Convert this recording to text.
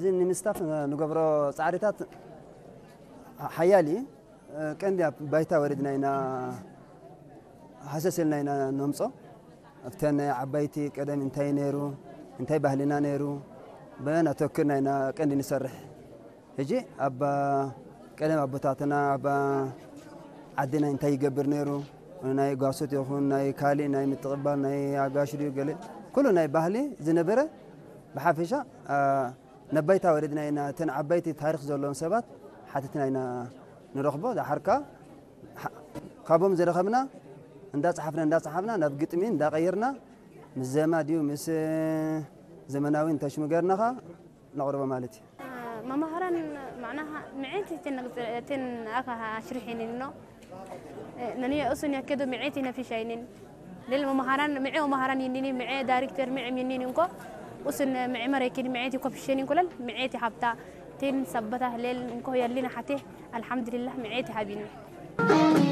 እዚ ንምስታፍ ንገብሮ ጻዕሪታት ሓያል እዩ። ቀንዲ ኣብ ባይታ ወሪድና ኢና፣ ሃሰስ ኢልና ኢና ነምጾ። ኣብተን ናይ ዓባይቲ ቀደም እንታይ ነይሩ፣ እንታይ ባህልና ነይሩ፣ በን ኣተክርና ኢና ቀንዲ ንሰርሕ። ሕጂ ኣብ ቀደም ኣቦታትና ኣብ ዓድና እንታይ ይገብር ነይሩ፣ ናይ ጓሶት ይኹን ናይ ካሊ ናይ ምትቕባል ናይ ኣጋሽ ድዩ ገለ ኩሉ ናይ ባህሊ ዝነበረ ብሓፈሻ ነባይታ ወሪድና ኢና። እተን ዓባይቲ ታሪኽ ዘለዎም ሰባት ሓቲትና ኢና ንረኽቦ። ዳሓርካ ካብኦም ዝረኸብና እንዳፀሓፍና እንዳፀሓፍና ናብ ግጥሚ እንዳቐየርና ምስ ዜማ ድዩ ምስ ዘመናዊ እንተሽሙ ገርናኻ ነቕርቦ ማለት እዩ። መማህራን ማዕናኻ ምዕት እትን ኣካ ሽሪሒን ነው ነንየ እሱን ያከዶ ምዕት ነፊሻይንን ሌል መማህራን ምዕ መማህራን ይኒኒ ምዕ ዳይሬክተር ምዕ ይኒኒ እንኮ እሱን ምዕ መረኪን ምዕት ኮፊሽን እንኮለል ምዕት ሀብታ ቴን ሰበታ ሌል እንኮ የሊን ሓቴ አልሐምዱሊላህ ምዕት ሀቢኒ